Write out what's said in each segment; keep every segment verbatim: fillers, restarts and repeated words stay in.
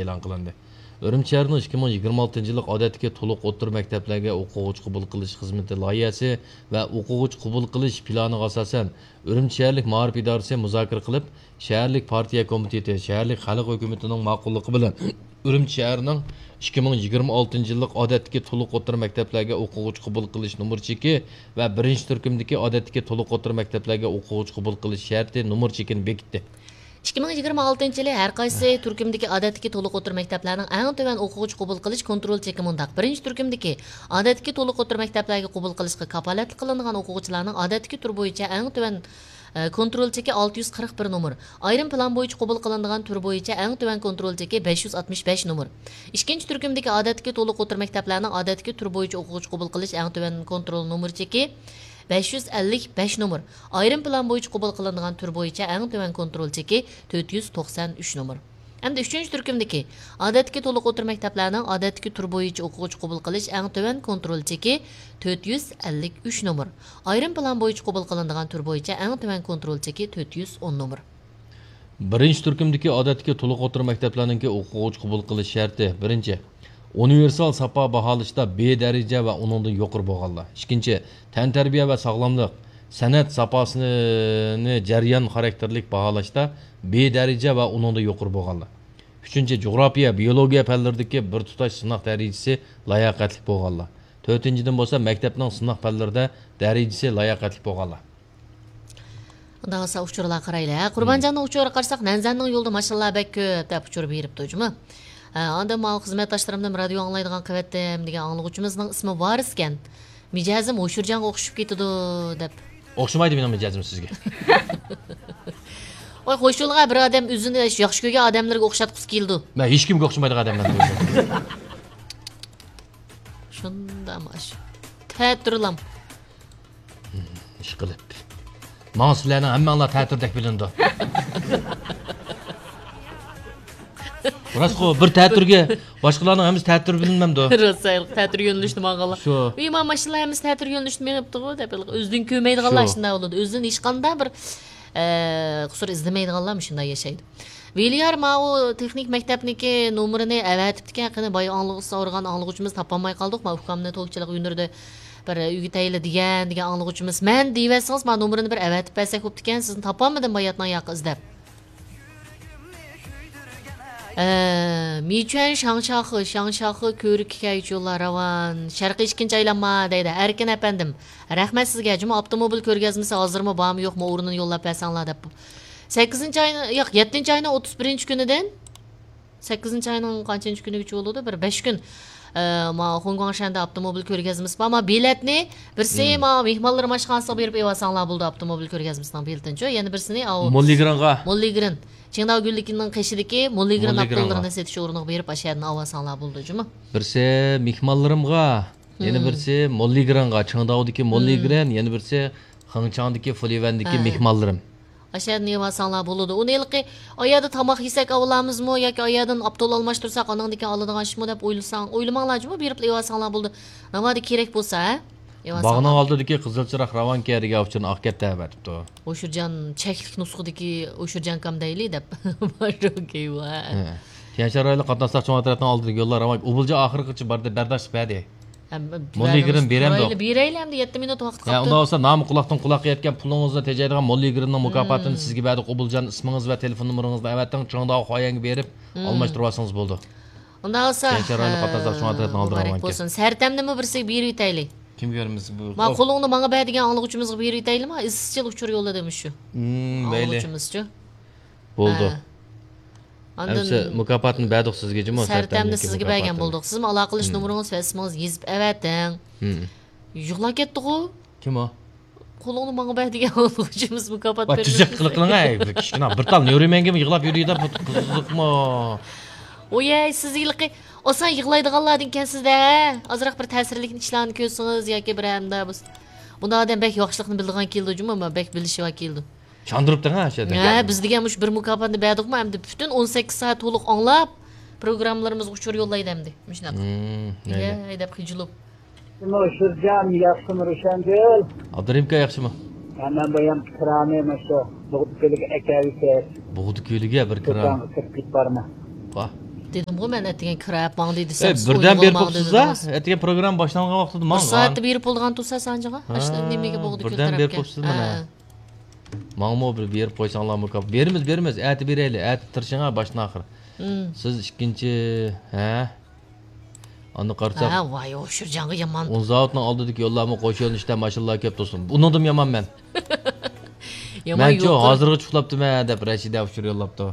ئېلان قىلىندى. ئۈرۈمچى شەھىرىنىڭ ئىككى مىڭ يىگىرمە ئالتىنچى يىللىق ئادەتتىكى تولۇق ئوتتۇرا مەكتەپلەرگە ئوقۇغۇچى قوبۇل قىلىش خىزمىتى لايىھەسى ۋە ئوقۇغۇچى قوبۇل قىلىش پىلانىغا ئاساسەن، ئۈرۈمچى شەھەرلىك مائارىپ ئىدارىسى مۇزاكىرە قىلىپ، شەھەرلىك پارتىيە كومىتېتى، شەھەرلىك خەلق ھۆكۈمىتىنىڭ ماقۇللۇقى بىلەن ئۈرۈمچى شەھىرىنىڭ ئىككى مىڭ يىگىرمە ئالتىنچى يىللىق ئادەتتىكى تولۇق ئوتتۇرا مەكتەپلەرگە ئوقۇغۇچى قوبۇل قىلىش نومۇر چېكى ۋە بىرىنچى تۈركۈمدىكى ئادەتتىكى تولۇق ئوتتۇرا مەكتەپلەرگە ئوقۇغۇچى قوبۇل قىلىش شەرتى نومۇر چېكىنى بېكىتتى. ئىككى مىڭ يىگىرمە ئالتىنچى يىلى ھەر قايسى تۈركۈمدىكى ئادەتتىكى تولۇق ئوتتۇرا مەكتەپلەرنىڭ ئەڭ تۆۋەن ئوقۇغۇچى قوبۇل قىلىش كونترول چېكى مۇنداق: بىرىنچى تۈركۈمدىكى ئادەتتىكى تولۇق ئوتتۇرا مەكتەپلەرگە قوبۇل قىلىشقا كاپالەتلىك قىلىنىدىغان ئوقۇغۇچىلارنىڭ ئادەتتىكى تۈر بويىچە ئەڭ تۆۋەن، ئە، كونترول چېكى ئالتە يۈز قىرىق بىر نومۇر، ئايرىم پىلان بويىچە قوبۇل قىلىنىدىغان تۈر بويىچە ئەڭ تۆۋەن كونترول چېكى بەش يۈز ئاتمىش بەش نومۇر. ئىككىنچى تۈركۈمدىكى ئادەتتىكى تولۇق ئوتتۇرا مەكتەپلەرنىڭ ئادەتتىكى تۈر بويىچە ئوقۇغۇچى قوبۇل قىلىش ئەڭ تۆۋەن كونترول نومۇر چېكى بەش يۈز ئەللىك بەش نومۇر. ئايرىم پىلان بويىچە قوبۇل قىلىنىدىغان تۈر بويىچە ئەڭ تۆۋەن كونترول چېكى تۆت يۈز توقسان ئۈچ نومۇر. ئەمدى ئۈچىنچى تۈركۈمدىكى ئادەتتىكى تولۇق ئوتتۇرا مەكتەپلەرنىڭ ئادەتتىكى تۈر بويىچە ئوقۇغۇچى قوبۇل قىلىش ئەڭ تۆۋەن كونترول چېكى تۆت يۈز ئەللىك ئۈچ نومۇر. ئايرىم پىلان بويىچە قوبۇل قىلىنىدىغان تۈر بويىچە ئەڭ تۆۋەن كونترول چېكى تۆت يۈز ئون نومۇر. بىرىنچى تۈركۈمدىكى ئادەتتىكى تولۇق ئوتتۇرا مەكتەپلەرنىڭكى ئوقۇغۇچى قوبۇل قىلىش شەرتى: بىرىنچى، ئۇنىۋېرسال ساپا باھالىشتا بې دەرىجە ۋە ئۇنىڭدىن يۇقىرى بولغانلار. ئىككىنچى، تەنتەربىيە ۋە ساغلاملىق، سەنئەت ساپاسىنى جەريان خاراكتېرلىك باھالاشتا بې دەرىجە ۋە ئۇنىڭدىن يۇقىرى بولغانلار. ئۈچىنچى، جۇغراپىيە، بىيولوگىيە پەنلىرىدىكى بىر تۇتاش سىناق دەرىجىسى لاياقەتلىك بولغانلار. تۆتىنچىدىن بولسا، مەكتەپنىڭ سىناق پەنلىرىدە دەرىجىسى لاياقەتلىك بولغانلار. ئۇنداق بولسا ئۇچۇرلارغا قارايلى. ھە، قۇربانجاننىڭ ئۇچۇرىغا قارىساق، نەنزەننىڭ يولىدا ماشىنىلار بەك كۆپ دەپ ئۇچۇر بېرىپتۇ جۇمۇ. ھە، ئاندىن ماۋۇ خىزمەتداشلىرىمدىن رادىيو ئاڭلايدىغان قەۋەتتىم دېگەن ئاڭلىغۇچىمىزنىڭ ئىسمى ۋارىس ئىكەن. مىجەزىم ھوشۇرجانغا ئوخشىشىپ كېتىدۇ دەپ. ئوخشىمايدۇ مېنىڭ مىجەزىم سىزگە. ۋاي، خوش يولغا بىر ئادەم ئۆزىنى ياخشى كۆرگەن ئادەملەرگە ئوخشاتقۇسى كېلىدۇ. مەن ھېچكىمگە ئوخشىمايدىغان ئادەملەرنى. شۇنداق ماش. تەتۈرلام. ئىشقىلىپ. ماڭا سىلەرنىڭ ھەممەڭلار تەتۈردەك بىلىنىدۇ. راستقۇ، بىر تەتۈرگە باشقىلارنىڭ ھەممىسى تەتۈر بىلىنمەمدۇ؟ راست، تەتۈر يۆنىلىشتە ماڭغانلار. شۇ. ئى، ما ماشىنىلار ھەممىسى تەتۈر يۆنىلىشتە مېڭىپتىغۇ دەپ، ئۆزىدىن كۆرمەيدىغانلار شۇ. شۇنداق بولىدۇ. ئۆزىدىن ھېچقانداق بىر، ئە، قۇسۇر ئىزدىمەيدىغانلار مۇشۇنداق ياشايدۇ. ۋىليار ماۋۇ تېخنىك مەكتەپنىڭكى نومۇرىنى ئەۋەتىپتىكەن، قېنى بايا ئاڭلىغۇچى سورىغان ئاڭلىغۇچىمىز تاپالماي قالدۇق، ما ئۇكامنى توكچىلىق ھۈنىرىدە بىر ئۆگىتەيلى دېگەن، دېگەن ئاڭلىغۇچىمىز. مەن دېيىۋەتسىڭىز، ما نومۇرىنى بىر ئەۋەتىپ بەرسەك بوپتىكەن، سىزنى تاپالمىدىم باياتنىڭ ياقى ئىزدەپ. ئە، مىچۈەن شاڭشاخې، شاڭشاخې كۆۋرۈككە كەلگۈچى يوللار راۋان. شەرقىي ئىككىنچى ئايلانما دەيدۇ. ئەركىن ئەپەندىم، رەھمەت سىزگە. جۇمۇ ئاپتوموبىل كۆرگەزمىسى ھازىرمۇ بارمۇ يوقمۇ، ئورنىنى يوللاپ بەرسەڭلار دەپ. سەككىزىنچى ئاينىڭ، ياق، يەتتىنچى ئاينىڭ ئوتتۇز بىرىنچى كۈنىدىن، سەككىزىنچى ئاينىڭ قانچىنچى كۈنىگىچە بولىدۇ؟ بىر بەش كۈن. ئە، ما خوڭگۇاڭشەندە ئاپتوموبىل كۆرگەزمىسى بار. ما بېلەتنى بىرسى، مم، ما مېھمانلىرىم ئاشخانىسىغا بېرىپ ئېلىۋالساڭلار بولىدۇ، ئاپتوموبىل كۆرگەزمىسىنىڭ بېلىتىنىچۇ. يەنە بىرسىنى ئاۋۇ موللىگرىنغا. موللىگرىن. چىڭداۋ گۈنلۈكىنىڭ قېشىدىكى موللىگرىن، موللىگرىنغا، ئاپتوللىرىنى سېتىش ئورنىغا بېرىپ ئاشۇ يەردىن ئاۋالساڭلار بولىدۇ جۇمۇ. بىرسى مېھمانلىرىمغا، يەنە، مم، بىرسى موللىگرىنغا، چىڭداۋدىكى، مم، موللىگرىن، يەنە بىرسى خېڭچاڭدىكى فۇليۈەندىكى، ھە، مېھمانلىرىم. ئاشۇ يەردىن يېۋالساڭلار بولىدۇ. ئۇنى ھېلىقى ئايەردە تاماق يېسەك ئاۋىلامىزمۇ ياكى ئايەردىن ئاپتول ئالماشتۇرساق ئاناڭدىن كېيىن ئالىدىغان ئىشمۇ دەپ ئويلىساڭ، ئويلىماڭلار جۇمۇ، بېرىپلا يېۋالساڭلار بولىدۇ. ناۋادا كېرەك بولسا، ھە؟ يېۋالساڭلار. باغنىڭ ئالدىدىكى قىزىل چىراغ راۋانكە دېگەن ئۇچۇرنى ئاقكەتتە ئەۋەتىپتۇ. ئوشۇرجان چەكلىك نۇسخىدىكى ئوشۇرجانكام دەيلى دەپ. بار ئوكەي، ۋە. ھە. تيەنشان رايونلۇق قاتناشلار چوڭ ئەترەتنىڭ ئالدىدىكى يوللار راۋان ئوبۇلجا ئاخىرغىچە باردا بەرداشلىق بەردى. ھەم موللىگرىن بېرەمدۇق؟ بېرەيلى، بېرەيلى ئەمدى، يەتتە مىنۇت ۋاقىت قاپتۇ. ئۇنداق بولسا نامى قۇلاقتىن قۇلاققا يەتكەن پۇلىڭىزنى تېجەيدىغان موللىگرىننىڭ مۇكاپاتىنى، مم، سىزگە بەردۇق. ئوبۇلجان ئىسمىڭىز ۋە تېلېفون نومۇرىڭىزنى ئەۋەتىڭ، چىڭداۋ خۇايەنگە بېرىپ، مم، ئالماشتۇرۇۋالسىڭىز بولىدۇ. ئۇنداق بولسا، تيەنشان رايونلۇق قاتناشلار چوڭ ئەترەتنىڭ ئالدىغا مۇبارەك بولسۇن. سەرتەمنىمۇ بىرسىگە بېرىۋېتەيلى. كىمگە بېرىمىز بۇ؟ ما قولۇڭنى ماڭا بەر دېگەن ئاڭلىغۇچىمىزغا بېرىۋېتەيلىما؟ ئىزچىل ئۇچۇر يوللىدى مۇشۇ. مم، مەيلى. ئاڭلىغۇچىمىزچۇ؟ بولدى. ھە. ئاندىن ئەمسە مۇكاپاتنى بەردۇق سىزگە جۇمۇ، سەرتەمنى سىزگە بەرگەن بولدۇق. سىزمۇ ئالاقىلىشىش نومۇرىڭىز ۋە ئىسمىڭىزنى يېزىپ ئەۋەتىڭ. مم. يىغلاپ كەتتىغۇ. كىم ئۇ؟ قولۇڭنى ماڭا بەر دېگەن ئوقۇغۇچىمىز مۇكاپات بېرىمىز. تۈزۈك قىلىقلىڭ، ئەي، بىر كىچىككىنە بىر تال نۆرىمەنگىمۇ يىغلاپ يۈرىدۇ، بۇ قىزىقمۇ؟ ئويەي، سىز ھېلىقى ئاسان يىغلايدىغانلاردىن ئىكەنسىز-دە، ھە؟ ئازراق بىر تەسىرلىك ئىشلارنى كۆرسىڭىز ياكى بىر ئەمدى بۇ-، بۇنداق ئادەم بەك ياخشىلىقنى بىلىدىغان كېلىدۇ جۇمۇ، بەك بىلىشىۋا كېلىدۇ. چاندۇرۇپتىڭ ھە، شۇ يەردە. ھە، بىز دېگەن مۇشۇ بىر مۇكاپاتنى بەردۇقمۇ، ئەمدى پۈتۈن ئون سەككىز سائەت تولۇق ئاڭلاپ، پروگراممىلىرىمىزغا ئۇچۇر يوللايدۇ ئەمدى. مۇشۇنداق. مم، مەيلى. ئىگە، دەپ خىجىلىپ. ئوشۇرجان، ياخشىمۇ، روشەنگۈل؟ ئابدۇرېھىمكا ياخشىمۇ؟ ھە، مەن بۇ يان كىرانى مانا شۇ بۇغدا كۆلىگە ئەكەۋېتىپ، بۇغدا كۆلىگە بىر كىران. دۇكانغا كىرىپ كېتىپ بارىمەن. ۋاھ. دېدىمغۇ مەن، ئەتىگەن كىرەپ ماڭدى ئە دېسەم، سىز بىردەن ئويغىلى بېرىپ ماڭدى بوپسىزدا. دېدىڭىز. ئەتىگەن پروگرامما باشلانغان ۋاقتىدا بىر ماڭغان. سائەتتە بېرىپ بولىدىغان تۇرسا سانجىغا؟ ھە، ئاشۇ نېمىگە بولدى بىردەم بېرىپ كۆلتۈرەپكەن. بوپسىز مانا. ماڭىمۇ بىر بېرىپ قويساڭلار مۇكاپات. بېرىمىز، بېرىمىز. ئەتە بېرەيلى. ئەتە تىرىشىڭا باشتىن ئاخىر. سىز ئىككىنچى، ھە؟ ئاندىن قارىساق، ھە، ۋاي ئوشۇرجانغا يامان. ئون زاۋۇتنىڭ ئالدىدىكى يوللارمۇ قوش يۆنىلىشتە ماشىنىلار كۆپ تۇرسۇن. ئۇنىڭدىنمۇ يامان مەن. يامان مەنچۇ يۇقىرى. ھازىرغىچە ئۇخلاپتىمەن دەپ رەشىدە ئۇچۇر يوللاپتۇ.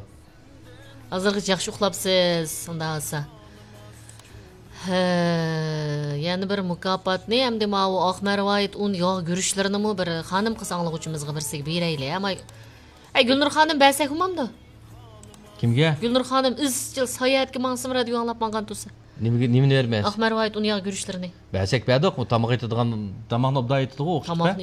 ھازىرغىچە ياخشى ئۇخلاپسىز، ئۇنداق بولسا. ھە، يەنە بىر مۇكاپاتنى ئەمدى ماۋۇ ئاق مەرۋايىت ئۇن ياغ گۈرۈچلىرىنىمۇ بىر خانىم قىز ئاڭلىغۇچىمىزغا بىرسىگە بېرەيلى. ئەمما، ئەي، گۈلنۇر خانىم بەرسەك بولمامدۇ؟ كىمگە؟ گۈلنۇر خانىم ئىزچىل ساياھەتكە ماڭسىمۇ رادىيو ئاڭلاپ ماڭغان تۇرسا. نېمىگە، نېمىنى بېرىمەن؟ ئاق مەرۋايىت ئۇن ياغ گۈرۈچلىرىنى. بەرسەك بەردۇق، ئۇ تاماق ئېتىدىغان، تاماقنى ئوبدان ئېتىدىغۇ، ئوخشىتىپ. تاماقنى